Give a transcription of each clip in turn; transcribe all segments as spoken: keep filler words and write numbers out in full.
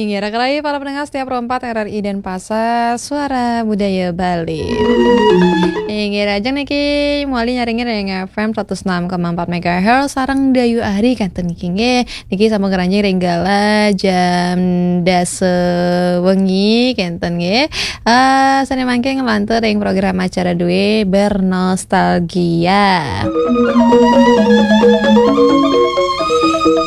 Inggih, raka rai para pendengar setia Pro empat R R I Denpasar, Suara Budaya Bali. Inggih, rahajeng niki mawali nyarengi ring F M seratus enam koma empat megahertz sareng Dayu Ari kenten niki nggih. Niki sampun ngranjing ring galah jam dasa wengi kenten nggih. Eh, sane mangkin nglantur ring program acara due Bernostalgia.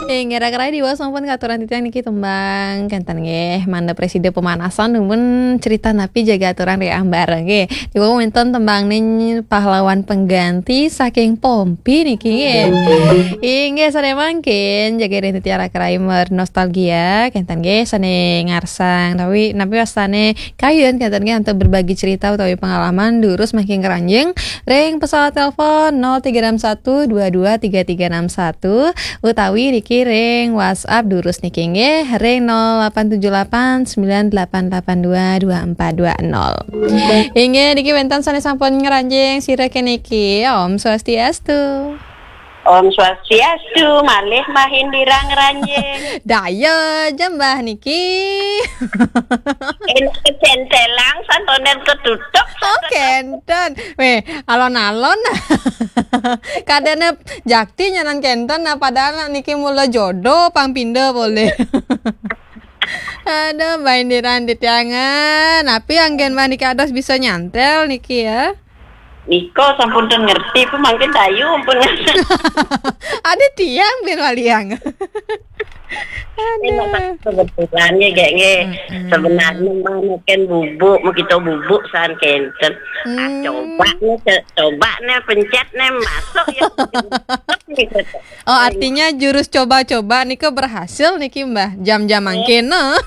Inggih, raka rai diwas sampun katuran titiang niki tembang kenten nggih. Mangda prasida pemanasan dumun cerita napi jaga aturang ring ambara nggih. Diwas wenten tembang ning pahlawan pengganti saking Pompi niki nggih. Inggih, sane mangkin jaga ring titiang raka rai bernostalgia kenten nggih, sane ngarsang napi napi wastane kayun kenten nggih antuk berbagi cerita utawi pengalaman durus mangkin ngranjing ring pesawat telepon nol tiga enam satu dua dua tiga tiga enam satu utawi niki ring WhatsApp durus niki nggih ring nol delapan tujuh delapan sembilan delapan delapan dua dua empat dua nol. Inggih niki wenten sane sampun ngranjing sira keniki. Om Swastiastu. Om Swastiastu, malih Mbah Indira ngranjing. Daya aja Mbah niki. Enak kecentelang santonen ketutup. Oh, kenten. Weh, alon-alon. Kadene jakti nyanan kenten, nah, padahal niki mula jodoh pang pinda boleh. Aduh, Mbah Indira titiangan. Napi anggen Mbah niki ados bisa nyantel niki ya? Nika sampun ten ngerti, pun mangkin Dayu ampun. Ada tiang bin waliang. Aduh. Kebetulan ya, gek, nggih. Mm-mm. Sebenarnya mah mungkin bubuk, mau kita bubuk san kenten. Ah, hmm. Coba nih, co-, coba nih, pencet nih, masuk ya. Oh, artinya jurus coba-coba nika berhasil niki, Mbah. Jam-jam mangkin, no.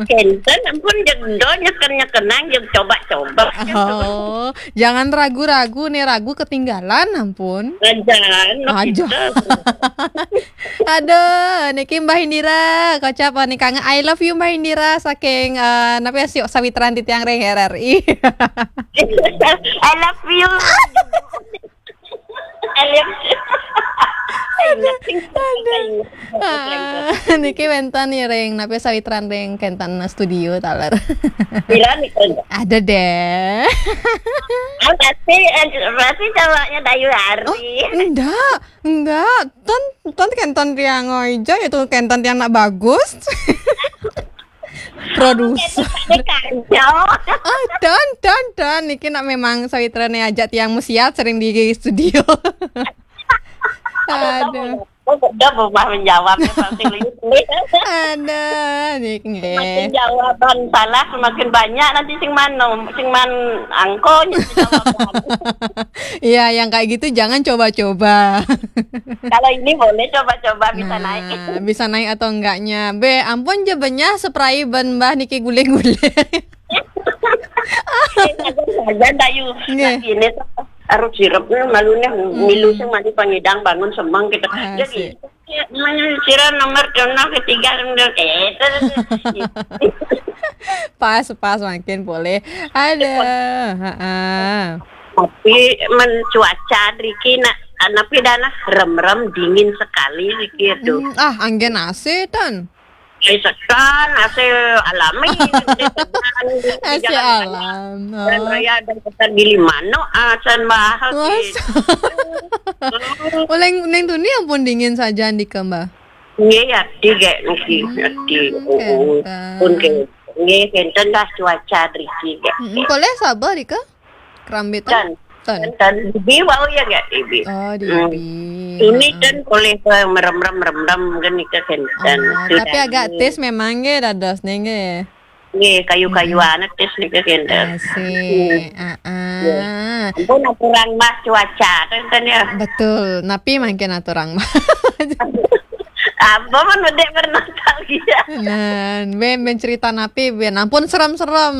Kenten, ampun, jeg ndo nyeken-nyekenang, jeg coba-coba. Oh, jangan ragu-ragu nih, ragu ketinggalan, ampun. Ajan, no. Aja. Kita. Aduh, niki Mbah Indira, kocap nika I love you Mbah Indira saking, eh, napa ya, si-, sawitran titiang ring R R I. I love you. Aduh, aduh. Ah, niki wenten nih ring, napi sawitran ring kenten studio taler. Pira nih, Kak? Ada deh. Ah, pasti, eh, pasti cowoknya Dayu Ari. Oh, enggak, enggak. Ton, ton kenten tiang ija itu kenten tiang nak bagus. Produser. Kenten tiang nak bagus. Ah, don, don, don. Niki nak memang sawitrane ajak tiang musiat sering di studio. Aduh. Oh, udah berubah menjawabnya pasti lihat. Aduh, niki nggih. Semakin jawaban salah, semakin banyak nanti sing mano, sing man angko jawaban. Iya, yang kayak gitu jangan coba-coba. Kalau ini boleh coba-coba, bisa naik. Nah, bisa naik atau enggaknya. Be, ampun je benyah spray ben Mbah niki guling-guling. Eh, sajan, sajan, Dayu. Nggih. Nah, ini tuh, aruh sirupnya malunya milu sing mandi pangidang bangun semeng gitu. Ah, jadi, sih. Ya, namanya sirah nomor kena ketiga, nomor, eh, itu, itu. Pas, pas, makin boleh. Ada, heeh. Tapi men cuaca driki nak, tapi dana rem-rem dingin sekali driki tuh. Hmm, ah, anggen A C, Tan. Eh, sekan, A C alami, di jalan, di A C jalan alam, jalan oh. Raya ada kota Gili Manuk, ah, san bahas. Mas. Gitu. Oh, neng, neng tuni ampun dingin saja andika, Mbah. Nggih, ya, di gek niki, hmm, ya, di. Oh, oh. Kenten. Pun ke, nggih, kenten dah cuaca driki gek. Mm-mm. Boleh sabar, Rika? Kerambitan? Ten. Ten. Ten, ten. Ibi wau ya gek, ibi. Oh, di ibi. Ini kan boleh ke merem-rem, merem-rem, kan nika kenten. Oh, tapi agak tis memang nggih, dados nih nggih. Nggih, kayu-kayuan tis nika kenten. Asik. Hmm. Ah, ah. Nggih. Ampun, aturang Mbah cuaca, kenten ya. Betul. Napi mangkin aturang Mbah. Apa pun bedek bernostalgia. Nah, ben, ben cerita napi, ben ampun serem-serem.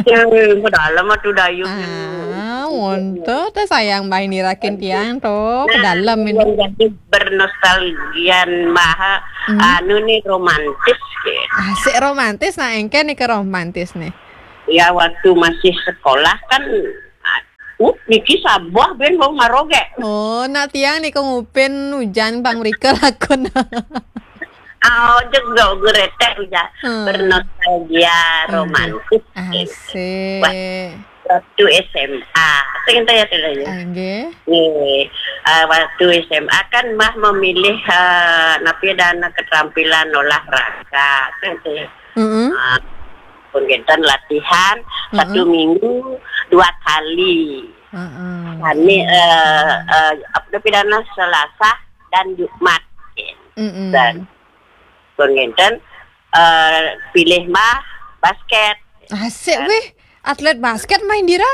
Eh, ke dalam atuh Dayu. Ah, wonten teh sayang Mbah Indira kin tiang tuh, ke dalam ini. Jadi bernostalgia maha anu nih romantis gitu. Asik romantis, nah engke nih ke romantis nih. Ya waktu masih sekolah kan, uh, niki sabuah ben mau maroge. Oh, nak tiang nih ke ngupin hujan pang mrika lakon. Oh, juga geretek ya. Hmm. Bernostalgia. Nggih. Romantis. Asik. Wah, waktu S M A. Sing enten ya, Teh Dayu? Nggih. Nggih. Eh, waktu S M A kan Mbah memilih, eh, napi, dana keterampilan olahraga. Kan, Teh? Mm-mm. Ah, pun kinten latihan satu minggu dua kali. Heeh. Kami, eh, eh, apa, pidana Selasa dan Jumat. Mm-mm. Dan pun kinten, eh, pilih Mbah basket. Asik, weh. Atlet basket Mbah Indira?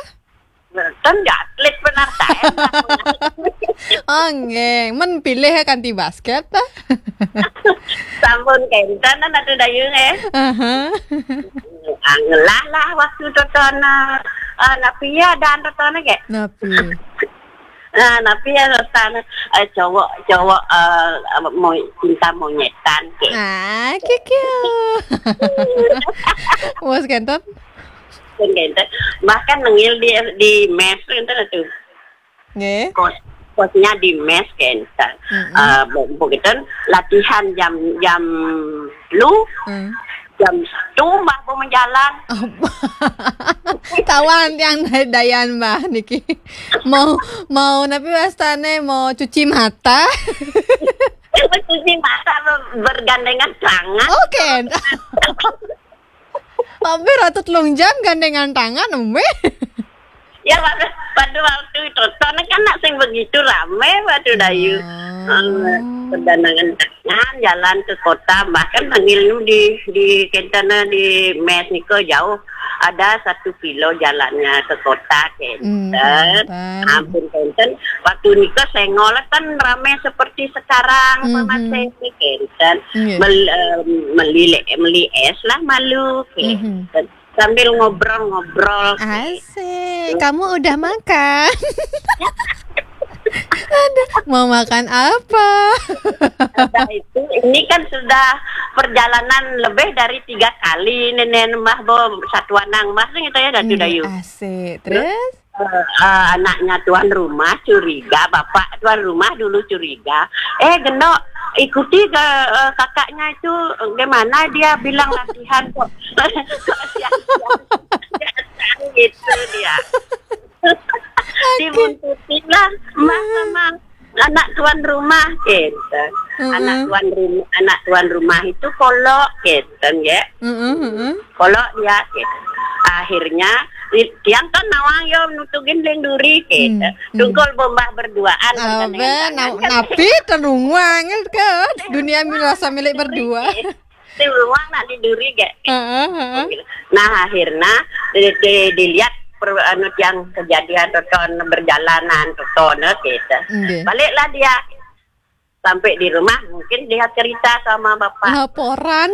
Ten atlet benar, Teh. Oh, nggih. Men pilih kanti basket, ta? Sampun kinten, Ratu Dayu, eh. Aha. Ah, ngelah lah waktu totoné, eh, napi ya, dan totoné, nggih. Napi? Nah, napi ya, totoné, eh, cowok, cowok, eh, mau cinta monyetan, nggih. Ah, kikiu. Wes kinten? Pun kinten. Bahkan nengil di, di mes kinten tuh. Nggih. Kos, kosnya di mes kinten. Mm-mm. Eh, bu-, begitu latihan jam, jam lu, Hmm. jam satu Mbah mau menjalan. Oh. Tawan tiang Dayan, Mbah, niki. Mau, mau napi wastané, mau cuci mata? Cuci mata ber-, bergandengan tangan. Oke. Hampir atau telung jam gandengan tangan, Umi. Ya, pada, pada waktu itu, totoné kan nak sing begitu ramé, Ratu Dayu. Oh. Eh, bergandengan tangan, jalan ke kota, bahkan panggil di, di kinten di mes niko jauh. Ada satu kilo jalannya ke kota, kinten. Hmm, kinten. Ampun, kinten. Waktu niko senggol kan ramé seperti sekarang, Mhm. Pak Mas, kinten. Nggih. Mel-, eh, meli, meli es lah malu, kinten. Mhm. Sambil ngobrol-ngobrol. Asik. Kamu udah makan? Aduh, mau makan apa? Ada itu, ini kan sudah perjalanan lebih dari tiga kali, Nenek Mbah, bo, satuan nang Mbah, sing itu ya, Ratu Dayu. Asik. Terus? Eh, eh, anaknya tuan rumah curiga, bapak tuan rumah dulu curiga. Eh, Gendok, ikuti ke, eh, kakaknya itu, gimana dia bilang latihan kok. Kok siang-siang gitu dia. Dibuntutin lah, Mbah, sama anak tuan rumah, gitu. Mm-mm. Anak tuan rum-, anak tuan rumah itu kolok, gitu, ya. Mm-mm, mm-mm. Kolok dia, gitu. Akhirnya, i-, tiang kan nawang yo nutugin ling duri, gitu. Hmm, hmm. Tungkol bombah berduaan, Abe, dengan na-, tangan, kan. Napi tenung wangil ke dunia mi rasa milik berdua. Duri, gitu. Di rumah nak di duri, gitu. Heeh, heeh. Nah, akhirnya di, di, dilihat per-, anu, yang kejadian toton berjalanan, toton, gitu. Nggih. Baliklah dia. Sampai di rumah, mungkin dia cerita sama bapak. Laporan.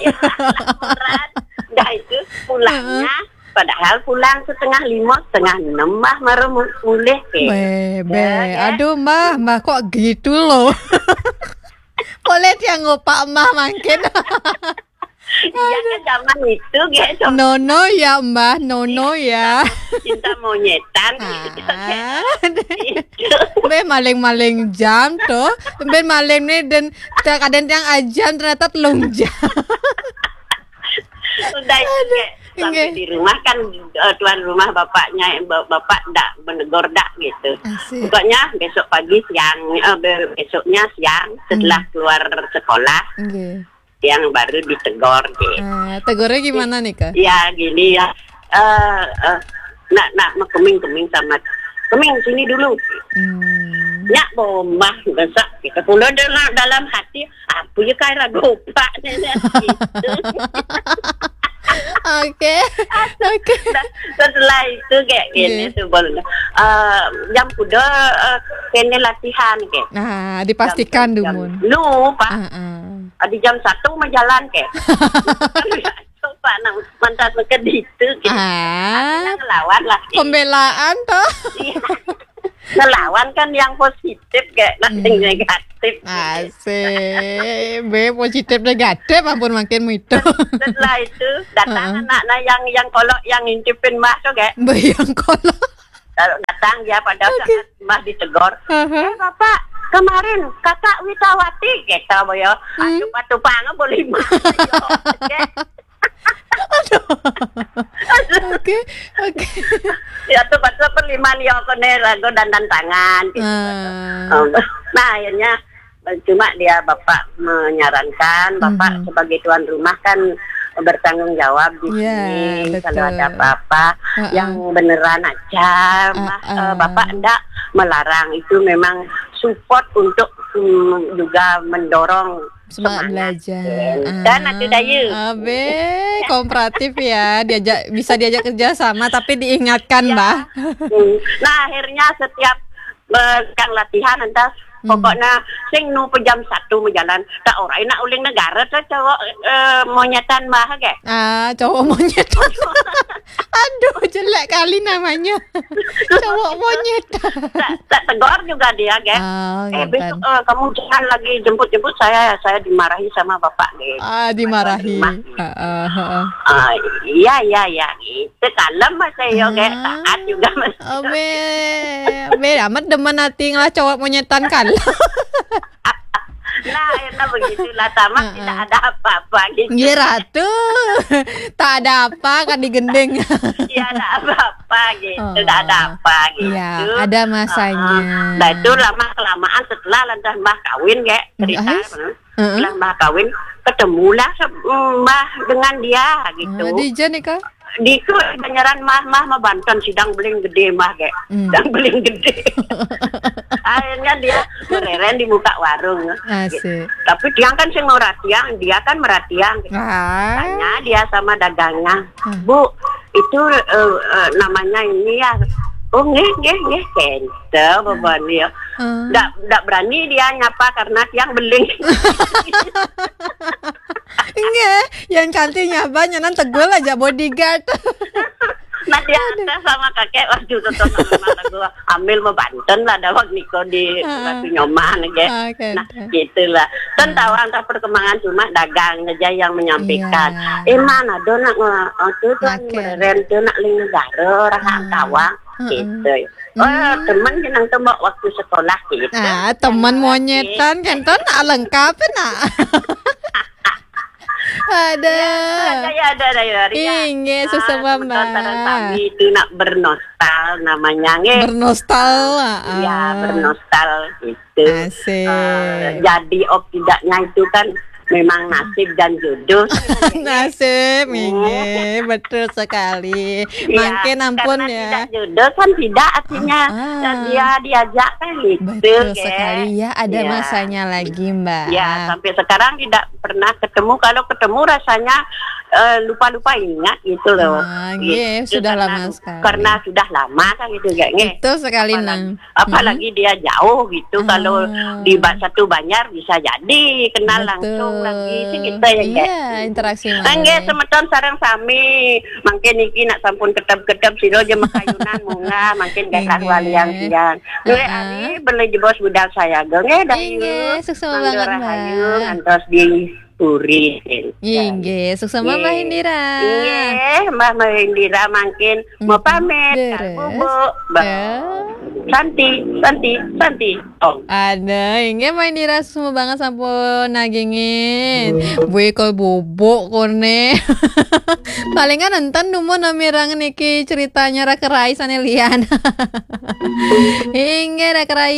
Ya, laporan. Dah itu pulangnya, Heeh. Padahal pulang setengah lima, setengah enam, Mbah, baru mu-, mulih, ke. Bebe. Ya, ya. Aduh, Mbah, Mbah kok gitu loh. Boleh dia ngopak Mbah mangkin. Iya, kan zaman itu, ge, sama Nono ya, Mbah, Nono ya. Cinta, cinta monyetan, gitu, kan. Ah. Gitu. Be maling-maling jam tuh. Be maling nih dan kadang yang ajam ternyata telung jam. Udah itu, Kak. Sampai di rumah kan, eh, tuan rumah bapaknya, ba-, bapak dak menegur dak gitu. Asik. Pokoknya besok pagi siang, eh, be-, besoknya siang setelah keluar sekolah, Nggih. Siang baru ditegur, gitu. Ah, tegurnya gimana nih, Kak? Ya, gini ya. Eh, eh, nak, nak, mau keming, keming sama. Keming, sini dulu. Hmm. Nyak bombah, besok kita pulang dalam, dalam hati, apa ya, kayak ragu pak, nenek, gitu. Oke, oke. Nah, setelah itu kayak gini, Nggih. Sebelum, eh, jam kuda, eh, kene latihan, kayak. Nah, dipastikan jam, jam dumun. Lu, Pak. Heeh. Ah, di jam satu mah jalan, kayak. Coba nang mantas ke ditu, kayak. Ah. Akhirnya ngelawan lah, kayak. Pembelaan, toh? Iya. Ngelawan kan yang positif, kayak, nah, yang negatif. Asik. Be, positif negatif, ampun, makin itu. Setelah itu, datang Heeh. anak, nah, yang, yang kolok, yang ngintipin Mbah tuh, kayak. Be, yang kolok. Kalau datang dia pada Oke. saat Mbah ditegur, Heeh. "Eh, Bapak, Kemarin kakak Witawati, gitu, boyo. Hmm. Aduh, patu pangan boleh mah. Yo, oke. Oke, oke. Ya tuh, patu perliman yo, kone lagu dandan tangan, gitu. Ah. Um, Nah, akhirnya, eh, cuma dia bapak menyarankan, bapak Mhm. sebagai tuan rumah kan bertanggung jawab di Ya, sini, betul. Kalau ada apa-apa Heeh. yang beneran aja, mah, Heeh. eh, bapak enggak melarang, itu memang support untuk, mm, juga mendorong Semangat semangat. belajar. Dan atu dayu. Abe, kooperatif ya, diajak, bisa diajak kerja sama tapi diingatkan, Ya. Bah. Hmm. Nah, akhirnya setiap, eh, kang latihan, entah, Hmm. pokoknya sing nu pe jam satu menjalan, tak ora enak uling negara tuh cowok, eh, monyetan, Bah, ge. Ah, cowok monyet. Aduh, jelek kali namanya. Cowok monyet. Tak, tak tegur juga dia, ge. Ah, Eh, besok, ngeten. Eh, kamu jangan lagi jemput-jemput saya, saya dimarahi sama bapak, ge. Ah, dimarahi. Rumah. Heeh, heeh. Ah, iya, iya, iya, gitu. Kalem masa yo, ge. Ah. Taat juga masa. Abe, abe amat demen hati ngelah cowok monyetan kan. Nah, enak begitulah, tamat Heeh. tidak ada apa-apa gitu. Nggih, Ratu. Tak ada apa kan digending. Tidak ada apa-apa gitu, Oh. tidak ada apa gitu. Ya, ada masanya. Ah, nah, itu lama kelamaan setelah lantas Mbah kawin, ge, cerita. Ais? Hmm. Heeh. Setelah Mbah kawin, ketemulah se- Mbah dengan dia gitu. Ah, di Jen nih, Kak. Di itu banyaran mah, mah, mah Banten sidang beling gede mah, ge. Hmm. Sidang beling gede. Akhirnya dia mereren di muka warung. Asik. Tapi tiang kan sing meratiang, dia kan meratiang. Ah. Tanya dia sama dagangnya, Hmm. "Bu, itu, eh, eh, namanya ini ya?" "Oh, nggih, nggih, nggih, kente, bapak dia." Ah. Ndak, ndak berani dia nyapa karena tiang beling. Nggih, yang cantiknya banyak nan tegul aja bodyguard. Nah, dia ada sama kakek waktu itu sama mata gua. Ambil mau Banten lah, ada waktu niko di Ah. Batu Nyoman, ge. Ah, oke, Nah, oke. gitulah. Kan Ah. tahu antar perkembangan, cuma dagang aja yang menyampaikan. Iya. Eh, mana do nak nge-, oh, tu tuan Makin. Meren tu nak ling negara, orang Ah. Tawang, Heeh. gitu. Oh, Hmm. teman jenang tembok waktu sekolah gitu. Ah, teman Oke. Monyetan kan, ton, ah, lengkap nak. Ada. Ya, ada, ya, ada, ya, Ria. Inggih, Ah, sesama, sebentar, sekarang Mbak. Kami itu nak bernostal namanya, nggih. Bernostal, ah, Ya, ah. Bernostal itu. Asik. Eh, jadi op tidaknya itu kan memang nasib dan jodoh. Nasib, inggih, betul sekali. Ya, Mangkin ampun karena ya. Tidak jodoh kan tidak, artinya Ah, ah. Dia diajak kan gitu, Betul ge. Sekali ya, ada Ya. Masanya lagi, Mbak. Ya, sampai sekarang tidak pernah ketemu. Kalau ketemu rasanya, eh, lupa-lupa ingat gitu loh. Ah, nggih, Gitu, sudah karena, lama sekali. Karena sudah lama kan gitu, ge, nggih. Betul sekali, Apalagi, Nang. apalagi dia jauh gitu. Ah. Kalau di ba-, satu banjar bisa jadi kenal Betul. Langsung lagi sih kita, ya, ge. Iya, interaksi Nggih, malih. Semeton sareng sami. Mangkin niki nak sampun ketep-ketep sira aja makayunan munggah, mangkin gadah Inggih. Waliang tiang. Nggih, Heeh. Ari beli jebos budal saya, ge. Nggih, Dayu. Inggih, suksma Mangga banget, rahayu, Mbak. Ngantos di puri. Inggih, suksma Mbah Nggih. Indira. Inggih, Mbah Indira mangkin mau Mhm. pamit. Leres. Bubuk. Bye. Ya. Santi, Santi, Santi. Oh. Ada, inggih Mbah Indira, suksma banget sampun nagingin. Wih, kok bubuk kone. Palingan enten dumun namirangan niki ceritanya Raka Rai sane lian. Inggih Raka Rai,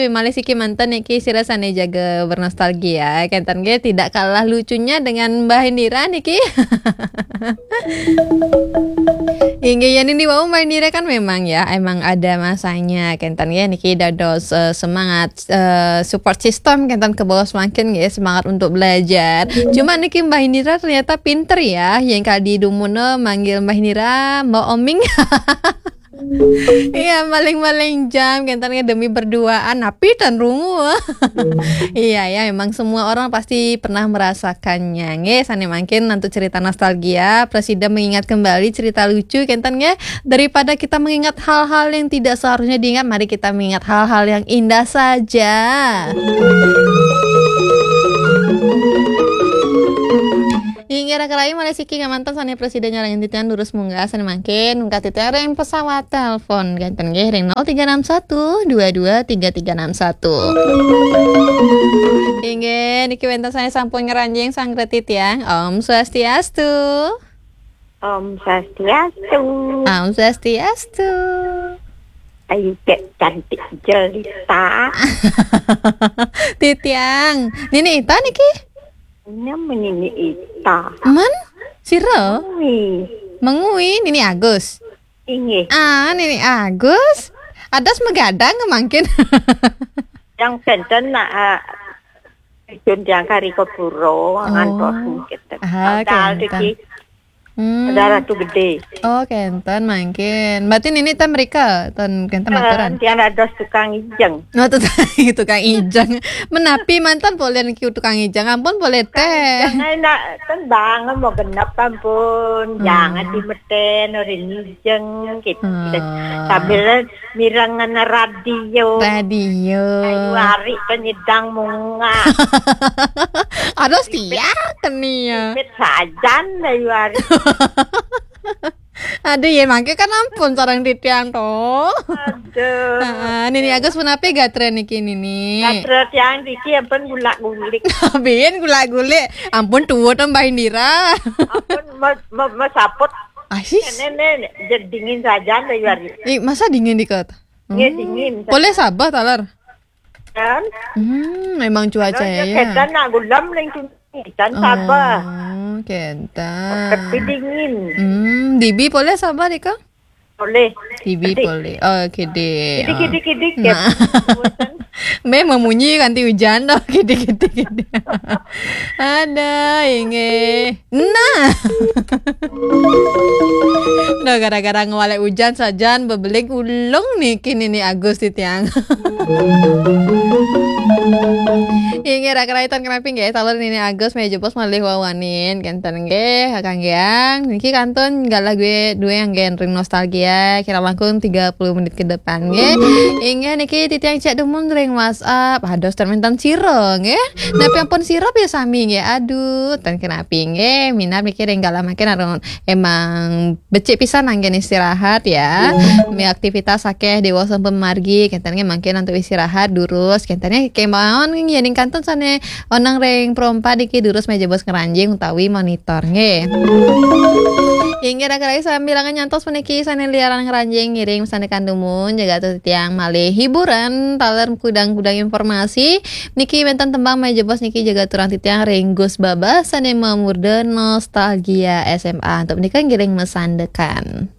malih siki manten niki sira sane jaga bernostalgia. Kenten nggih tidak kalah lucunya dengan Mbah Indira niki. Inggih, yen ini wau Mbah Indira kan memang ya, emang ada masanya. Kenten nggih niki dados, eh, semangat, eh, support system kenten ke bawah semakin nggih, semangat untuk belajar. Cuma niki Mbah Indira ternyata pinter ya, yang kali dumuna manggil Mbah Indira, Mbak Oming. Iya, maling-maling jam kenten nggih demi berduaan, tapi tan rungu. Iya ya, memang semua orang pasti pernah merasakannya. Nggih, sane mangkin untuk cerita nostalgia, presida mengingat kembali cerita lucu kenten nggih, daripada kita mengingat hal-hal yang tidak seharusnya diingat, mari kita mengingat hal-hal yang indah saja. Kira-kira malih siki ngamanten sané prasida nyarengin titiang durus munggah sané mangkin, munggah titiang ring pesawat telepon. Kénten nggih ring nol tiga enam satu dua dua tiga tiga enam satu. Inggih, niki wénten sané sampun ngranjing sareng titiang. Om Swastiastu. Om Swastiastu. Om Swastiastu. Ayu, Dek cantik jelita. Titiang, Nini Ita niki? Nama Nini Ita? Man? Sira? Ui. Mengui, Nini Agus. Inggih. Ah, Nini Agus. Adas magadang mangkin. Yang kénten nak, ah, ijun tiang kari kepuro, oh, ngantos mungkin. Ah, padahal kénten. Iki Hmm. Ada Ratu Gedé. Oh, kénten mangkin. Berarti Nini ten mrika, ten kénten maturan. Tiang dados tukang ijeng. Oh, tukang, tukang ijeng. Menapi manten polih niki tukang ijeng? Ampun polih téh. Jangan nak tendang mau genep ampun. Hmm. Jangan dimetén orang ijeng gitu. Hmm. Sambil mirengang radio. Radio. Ayu Ari kan nyidang munggah. Ada setia keni ya. Pit sajan Ayu Ari. Aduh, ya mangke kan ampun sareng titiang to. Aduh. Heeh, Nini Agus punapi gatra niki, Nini? Gatra tiang niki ampun gulak-gulik. Bin gulak-gulik. Ampun tuwa to Mbah Indira. Ampun me-, me-, mesaput. Asis. Nenek, nenek, jed dingin sajan Ayu Ari. Ih, masa dingin dikot? Nggih, hmm, dingin. Polih sabeh taler. Kan? Hmm, memang cuaca ya, ya. Kénten nak gulem ning sini, kan sabeh. Oh, kénten. Tapi dingin. Hmm, dibi polih sabeh, Dika? Polih. Dibi polih. Oh, kidik. Kidik, kidik, kidik. Nah. Bosen. Meh memunyi kanti hujan to, kidik, kidik, kidik. Ada, inggih. Nah. Nah, gara-gara ngwalik ujan sajan bebelik ulung niki Nini Agus titiang. Inggih, raka-raka iten kenapi nggih, taler Nini Agus malih jebos malih wawanin kénten nggih, kakanggiang. Niki kantun galah dué, dué anggén ring nostalgia, kirang langkung tiga puluh menit ke depan nggih. Inggih niki titiang cek dumun ring WhatsApp. Aduh, ten wénten sira nggih. Napi ampun sira pisan sami nggih? Aduh, ten kenapi nggih. Minab niki ring galah mangkin ampun emang becik pisan anggén istirahat ya. Mi aktivitas akéh déwasa pamargi, kénten nggih mangkin antuk istirahat durus, kénten nggih kémaon nggih ning kantun sané oneng ring Pro empat niki durus malih jebos ngranjing utawi monitor nggih. Inggih raka-raka sambilangan nyantos puniki sané liaran ngranjing ngiring sané kandumun jaga titiang malih hiburan taler gudang-gudang informasi. Niki wénten tembang malih jebos niki jaga aturang titiang ring Gus Babah sané mamurda Nostalgia S M A. Antuk punika ngiring masandekan.